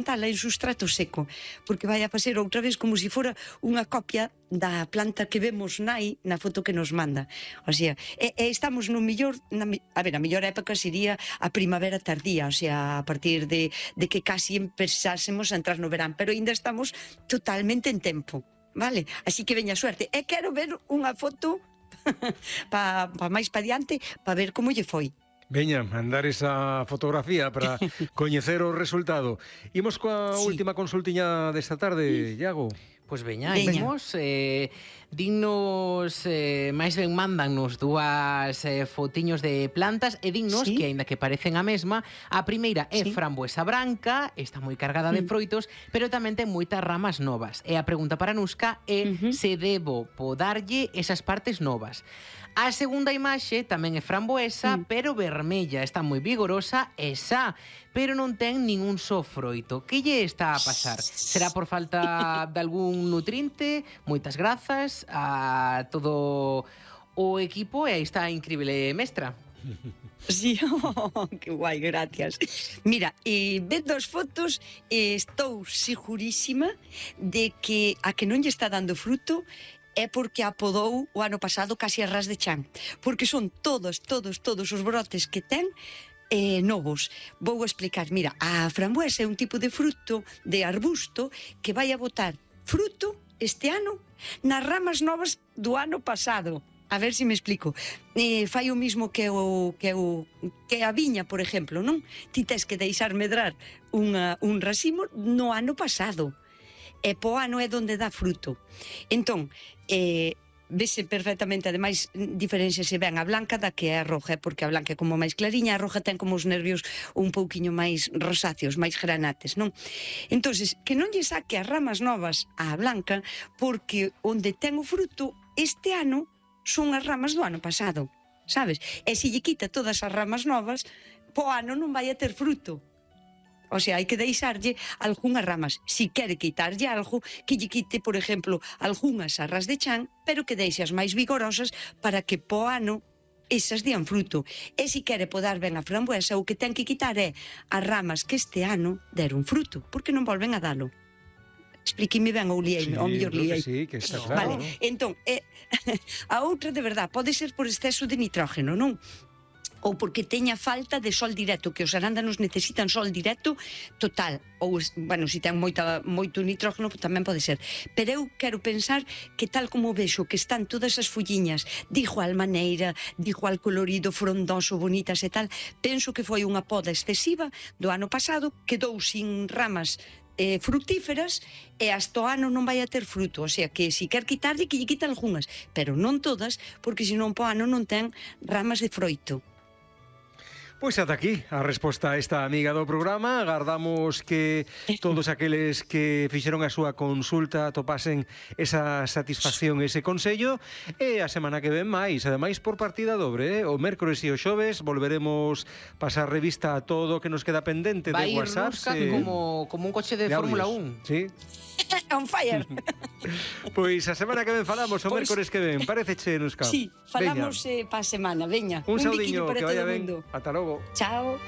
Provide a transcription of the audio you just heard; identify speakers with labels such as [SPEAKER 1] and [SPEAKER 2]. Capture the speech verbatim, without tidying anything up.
[SPEAKER 1] plantala en sustrato seco, porque vai a facer outra vez como se fora unha copia da planta que vemos nai na foto que nos manda. O sea, e, e estamos no millor, na, a ver, a mellor época sería a primavera tardía, o sea, a partir de, de que casi empezásemos a entrar no verán, pero ainda estamos totalmente en tempo, vale? Así que veña suerte. E quero ver unha foto pa, pa máis pa diante, pa ver como lle foi.
[SPEAKER 2] Veña, mandar esa fotografía para coñecer o resultado. Imos coa sí. última consultiña desta tarde, Iago.
[SPEAKER 3] Pois veña, vemos, eh, dignos, eh, máis ben mandannos dúas eh, fotiños de plantas e dignos, sí. que aínda que parecen a mesma, a primeira é sí. framboesa branca, está moi cargada de froitos, pero tamén ten moitas ramas novas. E a pregunta para Nusca é uh-huh. se debo podarlle esas partes novas. A segunda imaxe tamén é framboesa, mm. pero vermella, está moi vigorosa e xa, pero non ten ningún só froito. Que lle está a pasar? Será por falta de algún nutriente? Moitas grazas a todo o equipo e aí está a increíble mestra.
[SPEAKER 1] Sí, oh, que guai, gracias. Mira, eh, vendo as fotos, eh, estou segurísima de que a que non lle está dando fruto é porque apodou o ano pasado casi a ras de chan, porque son todos, todos, todos os brotes que ten eh, novos. Vou explicar, mira, a framboesa é un tipo de fruto, de arbusto, que vai a botar fruto este ano nas ramas novas do ano pasado. A ver se me explico. Eh, fai o mismo que o que o que a viña, por exemplo, non? Ti tes que deixar medrar unha, un racimo no ano pasado. E po ano é onde dá fruto. Entón, eh, vese perfectamente, ademais, diferenciase ben a blanca da que é a roja, porque a blanca é como máis clariña, a roja ten como os nervios un pouquiño máis rosáceos, máis granates, non? Entonces, que non lle saque as ramas novas á blanca, porque onde ten o fruto este ano son as ramas do ano pasado, sabes? E se lle quita todas as ramas novas, po ano non vai a ter fruto. O sea, hai que deixarlle algunhas ramas. Si quere quitarlle algo, que lle quite, por exemplo, algunhas arras de chan, pero que deixe as máis vigorosas para que po ano esas dian fruto. E si quere podar ben a framboesa, o que ten que quitar é as ramas que este ano deron fruto, porque non volven a dalo. Explíqueme ben ou liei,
[SPEAKER 2] sí,
[SPEAKER 1] ao mellor liei.
[SPEAKER 2] Sí, que está claro.
[SPEAKER 1] Vale, entón, eh, a outra de verdad pode ser por exceso de nitrógeno, non? Ou porque teña falta de sol directo, que os arándanos necesitan sol directo total, ou, bueno, se ten moita, moito nitrógeno tamén pode ser, pero eu quero pensar que tal como vexo que están todas as folliñas de igual maneira, de igual colorido, frondoso, bonitas e tal, penso que foi unha poda excesiva do ano pasado, quedou sin ramas eh, frutíferas e hasta o ano non vai a ter fruto, o sea que se quer quitarlle que lle quita algunhas, pero non todas, porque senón po ano non ten ramas de froito.
[SPEAKER 2] Pois ata aquí a resposta a esta amiga do programa. Agardamos que todos aqueles que fixeron a súa consulta topasen esa satisfacción, ese consello, e a semana que ven máis, ademais por partida dobre, eh? O mércores e o xoves volveremos pasar revista a todo o que nos queda pendente
[SPEAKER 3] vai
[SPEAKER 2] de WhatsApp.
[SPEAKER 3] Vai ir eh... como, como un coche de, de Fórmula un.
[SPEAKER 2] Sí.
[SPEAKER 1] On fire.
[SPEAKER 2] Pois a semana que ven falamos, o pues, mércores que ven. Pareceche, Nusca?
[SPEAKER 1] Sí, falamos eh, pa semana, veña.
[SPEAKER 2] Un, un saudiño, que vaya ben. Ata logo.
[SPEAKER 1] Chao.